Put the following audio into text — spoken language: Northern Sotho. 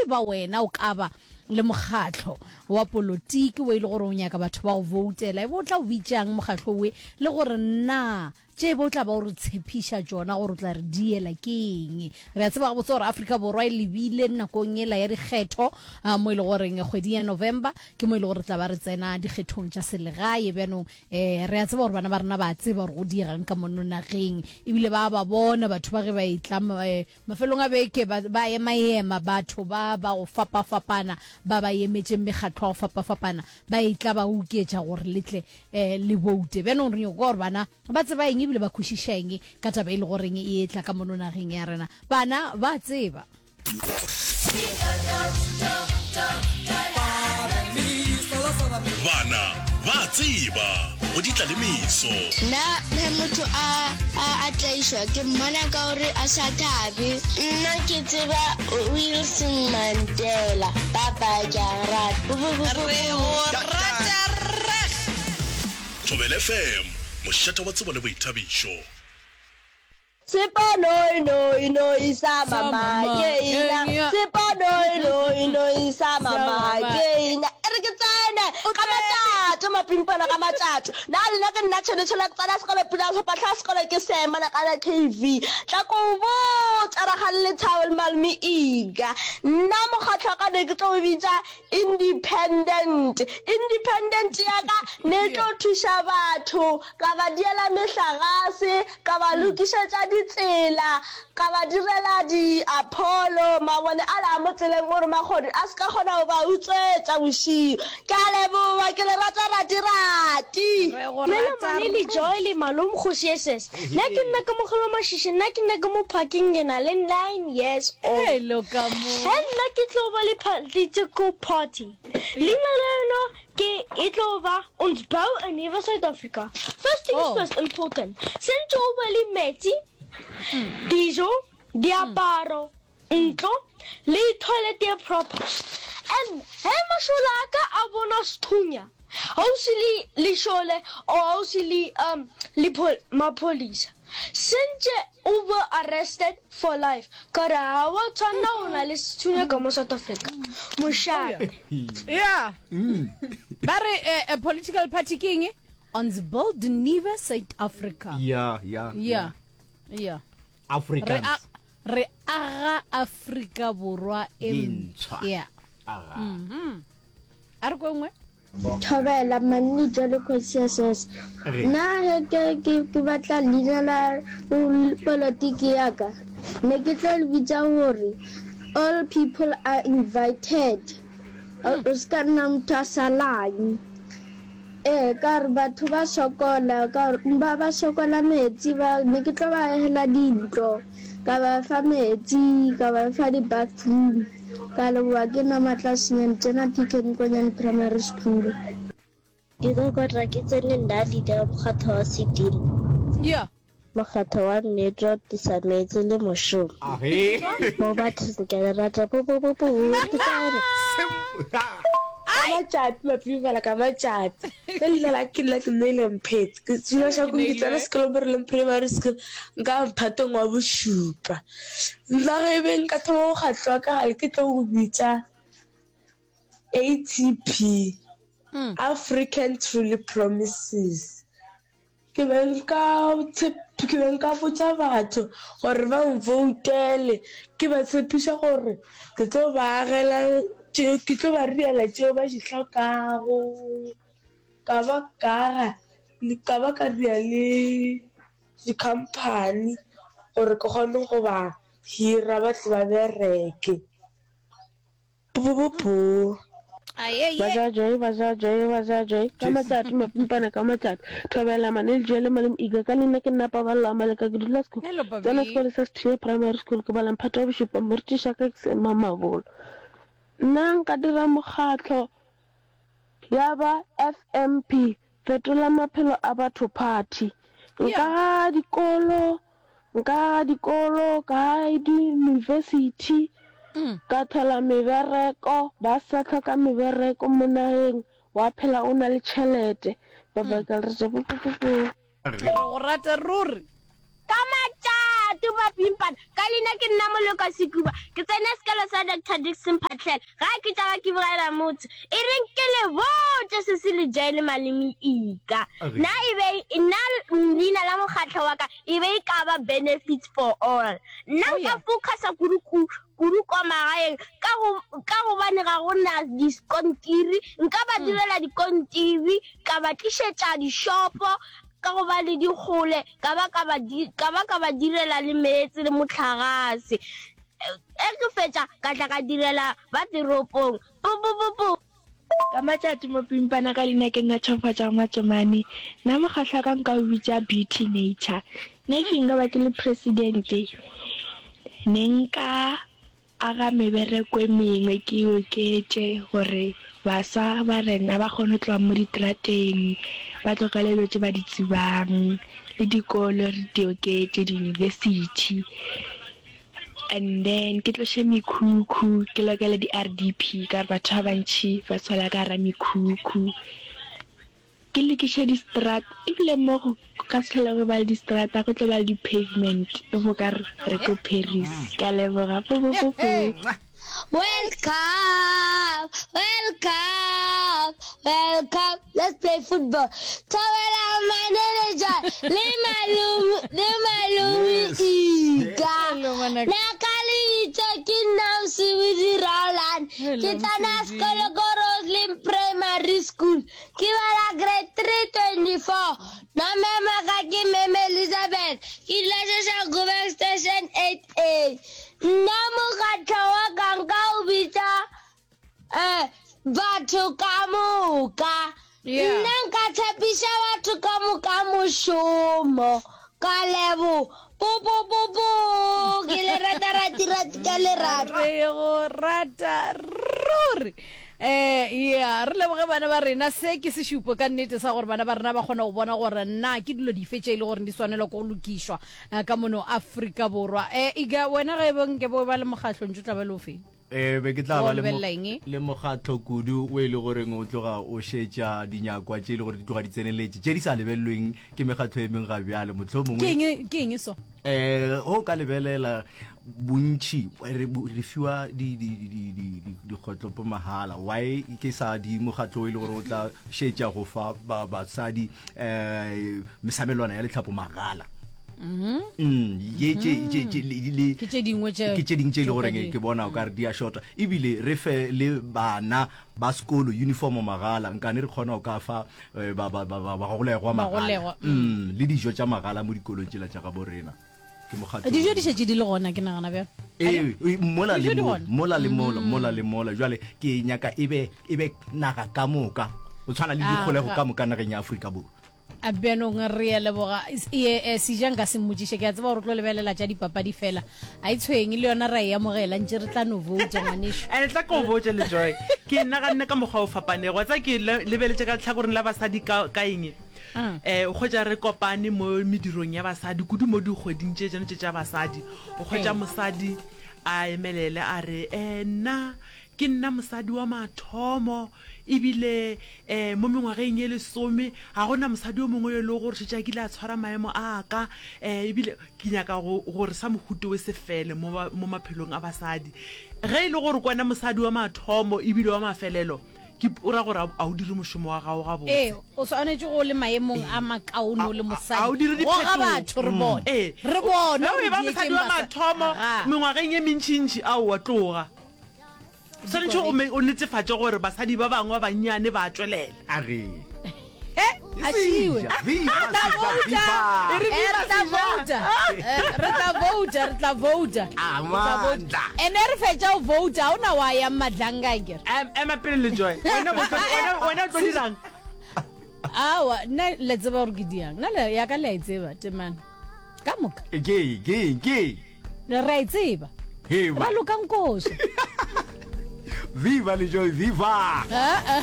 e ba wena o ka ba le mokgatlo wa polotiki wo e le gore o nyaka batho ba go voutela, e be o tla o bitšang mokgatlo we le gore na tše be o tla ba o re tshepiša tšona gore o tla re diela ke eng? Re a tseba gabotse gore Afrika Borwa e lebile nakong yela ya dikgetho mo e le goreng kgweding ya November ke mo e le gore re tla ba re tsena dikgethong tša selegae. Bjanong um re a tseba gore bana ba rena ba a tseba gore go diegang ka mono nageng ebile ba ba bona batho ba ge ba etla um Mafelong a beke ba, ba emaema batho ba ba go fapafapana ba ba emetšeng mekgatlo ya go fapafapana ba etla ba oketša gore le tle eh, le boute. Bjanong re nyoko kwa gore bana ba tseba eng ebile ba kwešiša eng ka taba e le goreng e etla ka mono nageng ya rena. Bana ba tseba. Bana ba a tseba go di tla le meso. Nna ge motho a a a tlaišwa ke mmona ka gore a sa thabe. Nna ke tseba Wilson Mandela bye bye ke a go rata Re go rata rrag. Thobela FM, mošate wa tsebo le boithabišo. Sepo noi noi noi sa mama ke ina Sepo noi noi noi sa mama ke ina E re ke tsene ka matšatšo mapimpana ka matšatšo Na lena ke nna tšhene tšhela ke tsena sekolo pula sephahla sekolo ke sema na kana KV Tla ko botša rakgadi Lethabo le malome Iga Nna mokgatlo wa ka ne ke tlo o bitša Independent Independent ya ka ne e tlo thuša batho ka ba diela mehlagase Ka ba lokišetša ditsela, ka ba direla diapholo, mabone ale a mo tseleng gore mahodu a se ka kgona go ba utswetša bošego. Ke a leboga, ke le rata rati-rati. Re go Melo rata Mane le Joy le Malome Kgoši SS. Nna ke nna Kamogelo Mashishi nna ke nna ka mo parking ke na le 9 years old. Hello ka mo. Ge nna ke tlo ba le political party leina la yona Ke e tlo ba ons bou 'n nuwe Suid-Afrika. First things Oh. first important. Sentse o be le metsi, dijo, diaparo, ntlo le toilet ye proper. And he mašole a ka a bona sethunya gausi le lešole or gausi le um le maphodisa, sentse O be arrested for life ka gore ga wa tshwanela go na le sethunya ka mo South Africa. Mošate. Yeah. Ba re eh, eh, political party ke eng? Ons build nuwe Suid-Afrika. Yeah, yeah. Yeah. Yeah. Re Afrikaans. a re aga Afrika Borwa e Ye ntshwa. Yeah. Aga. Mhm. A re ko nngwe. Thobela Manny Jwale Kgosiases. Nna ge ke ke ke batla leina la polotiki ya ka, ne ke tlo le bitša gore All people are invited. O se ka nna motho a salang. Ee, ka gore batho ba sokola, ka gore ba ba sokola metsi, ba ne ke tlo ba agela dintlo, ka ba fa metsi, ka ba fa di-bathroom. Ka leboga ke nna Matla Senyane tsena PK Nkonyane Primary School. Ke kokotla ke tsene nna leader ya mokgatho wa Sedimo. Yeah. Mokgatho wa nnete wa tlisa meetse le mošomo. Mo bathong ke le rata bo bo bo bo ke tsene. Ka matšatši mapipala ka matšatši nna leina la ke nna ke Neile Mphetse ke dula Shakung ke tsena sekolo mo Releng Primary School nka mphatong wa bošupa. Nna ge e be nka thoma mokgatlo wa ka gale ke tlo go bitša ATP, African Truly Promises. Ke be nka ke be nka botša batho gore ba nvoutele, ke ba tshepiša gore ke tlo ba agela tše, ke tlo ba direla tšeo ba di hlokago, ka ba ka aga, ka ba ka dira le di-company gore ke kgone go ba hira ba tle ba bereke. Pupupupu. Baja joy, baja joy, baja joy Ka matšatši, mapimpana ka matšatši Thobela Mane Lejwe le Malome Iga Ka leina ke nna Paballo Amaleka Ke dula Sekhukhune Hello, Pabi. Tsena sekolo sa Sethunya Primary School Ke bala mphato wa bošupa Morutiši wa ka ke Sema Mabolo Nna nka dira mokgatlo ya ba FMP Fetola maphelo a batho party Nka ga dikolo Nka aga dikolo, ka aga diyunibesithi, ka thola mebereko, ba sa hloka mebereko mo nageng, wa phela o na le tšhelete. Bye bye ka le rata. Re go rata ruri. Ka matšatši. Matšatši Mapimpana, ka leina ke nna Moloko Sekuba. Ke tsene sekolo sa Doctor Dickson Phatlhela. Ga ke tšaba ke bogela motho. E reng ke le botše se se le jae le maleme ika. Nna e be nna leina la mokgatlo wa ka e be e ka ba Benefits for All. Nna nka focusa kudu kudu kwa magaeng ka go ka gobane ga go na diskontiri. Nka ba direla dikontiri, ka ba tlišetša dishopo ka gobane di kgole, ka ba ka ba ka ba ka ba direla le meetse le mohlagase. Ge ke fetša ka tla ka direla ba teropong. Pupupupu! Ka matšatši mo pimpana ka leina ke nna Tšhofatša Matšomane. Nna mokgahlo wa ka nka o bitša Beauty Nature. Nna if nka ba ke le president ne nka aga mebereko e mengwe ke e oketše gore baswa ba rena ba kgone go tloga mo diterateng ba tlogele dilo tše ba di tsebang le dikolo re di oketše di-university. And then ke tloše mekhukhu ke lokele di RDP ka gore batho ba bantši ba sola ka gara mekhukhu. Ke lokiše distrata ebile mo go ka se hlole go ba le distrata go tlo ba le di pavement e bo ka re re ko Paris. Ke a leboga. Po po po po. World Cup, World Cup, World Cup, let's play football. Thobela manager le malome le malome Ika. Nna ka lebitso ke nna Mosebudi Roland. Ke tsena sekolo ko Roslyn Primary School. Ke bala grade 324. Nna mema ka ke Meme Elizabeth. Ke dula Soshanguve Station 8A. Nna mokgatlo wa ka nka o bitša um batho ka moka. Nna nka tshepiša batho ka moka mošomo. Ka lebo. Po po po po. Ke le rata rati rati ka lerato. Re go rata ruri. Eh yeah, re leboge bana ba rena. Se ke sešupo ka nnete sa gore bana ba rena ba kgona go bona gore na ke dilo dife tše e le gore di swanelwa ke go lokišwa. Eh, ka mono Afrika Borwa. Eh, Iga, wena ge be nke bo ba le mokgahlo ntše o tla ba le ofe? Eh, be ke tla Wa ba le mo- lebelela eng? le mokgatlo kudu o e le goreng o tloga o šetša dinyakwa tše e le gore di tloga di tseneletše tše di sa lebelelweng ke mekgatlo e mengwe ga bjale motlho Ke mongwe eng ke eng so? um go ka lebelela bontši re re fiwa di- di- di- di- di- di- dikgotlopo mahala why ke sa di mokgatlo o e le gore o tla šetša go fa ba- basadi um mesamelwana ya letlhapo magala Mm-hmm. Mm, ye tše tše tše le- le- Ke tše dingwe tše ke tše dingwe tše e le tšeo ka goreng di- ke bona o ka re di a shota ebile re fe le bana ba sekolo uniform magala nkane re kgona go ka fa eh, ba- ba- ba- ba- bagolegwa magala Bagolegwa, Mm, le dijo tša magala mo dikolong tšela tša gabo rena ke mokgatlo Dijo di šetše di le gona ke nagana bjalo. Ee, e, mola Dijo le di mola gona. mola le mola mola le mola jwale ke nyaka e be e be naga ka moka go tshwana le Ah, dikgolego ga- ka moka nageng ya Afrika Borwa A bjanong re a leboga. E, e, Seja nka se mmotšiše, ke a tseba gore o tlo lebelela tša dipapadi fela. A e tshwenye le yona ra e amogela, ntše re tla no vouta ngwanešu. And tla ko botše le Joy, ke naganne ka mokgwa o fapanego. Wa tseba ke le, lebeletše ka lehlakoreng la basadi ka, ka eng? Eh, o hwetša re kopane mo medirong ya basadi, kudu mo dikgweding tše tšeno tše tša basadi. O hwetša mosadi a emelele a re, eh, nna ke nna mosadi wa mathomo Ebile um mo mengwageng ye lesome ga go na mosadi yo mongwe yo e lego gore šetše a kile a tshwara maemo a ka. Um ebile ke nyaka go, gore sa mohuta we se fele mo, mo maphelong a basadi. Ge e le gore ke wena mosadi wa mathomo ebile wa mafelelo, ke, o ra gore a o dire mošomo wa gago gabotse. Ee, o swanetše go le maemong a makaone o le mosadi. A o dire Goga diphetogo. batho re bone. Ee. Re bone Ge o gore eba di mosadi ekeng wa basa- mathomo Aga. mengwageng ye mentšintši, aowa, tloga. Swanetše o me- o netefatše gore basadi ba bangwe ba bannyane ba tšwelela. A re. A šiwe. Viva, Re tla Seja, vouta. viva. E re Eh, viva re tla Seja. vouta. Eh, re tla vouta, re tla vouta. Ah, Re tla vouta. Amandla. Ene re fetša go vouta, ga o na wa yang madlanga akere. Em- Ema pele le Joy. Wena bo tlo- wena- wena o tlo dirang? Aowa, nna le tseba gore ke diang. Nna le ya ka le a e tseba, temana. Ka moka. Ke, ke, ke. Re a e tseba. Hei, Raloka nkoša. Viva le Joy, viva! Ah, ah.